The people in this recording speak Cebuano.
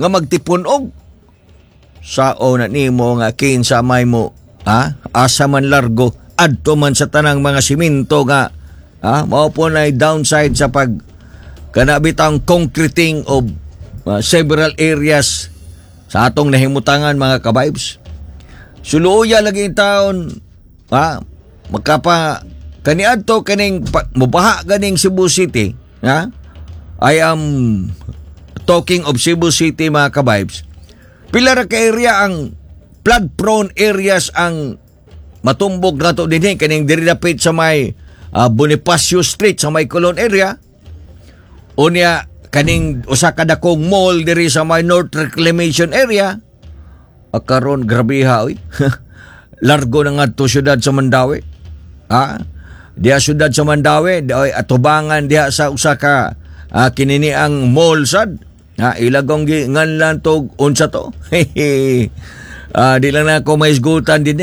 nga magtipun-og sao na nimo nga kinsa may mo, ha, asa man largo adto man sa tanang mga simento nga, ha, mao po na downside sa pag kana bitang concreting of several areas sa atong nahimutangan, mga ka-vibes. Suluya lagi in taon, ha, makapa kaniadto kaning mubaha ganing Cebu City, ha. I am talking of Cebu City, mga ka-vibes. Pila ra ka area ang flood prone areas ang matumbok nato dinhi, kaning diri dapit sa may Bonifacio Street sa may Colon area. Unya kaning usa ka dakong mall diri sa may North Reclamation area. Karon grabeha oy. Largo na ngadto syudad sa Mandaue. Ha? Diha syudad sa Mandaue, di oy atubangan diha sa usa ka kinini ang mall sad. Ha, ilagong gi nganlan tog unsa to. Di lang na ako maisgutan din.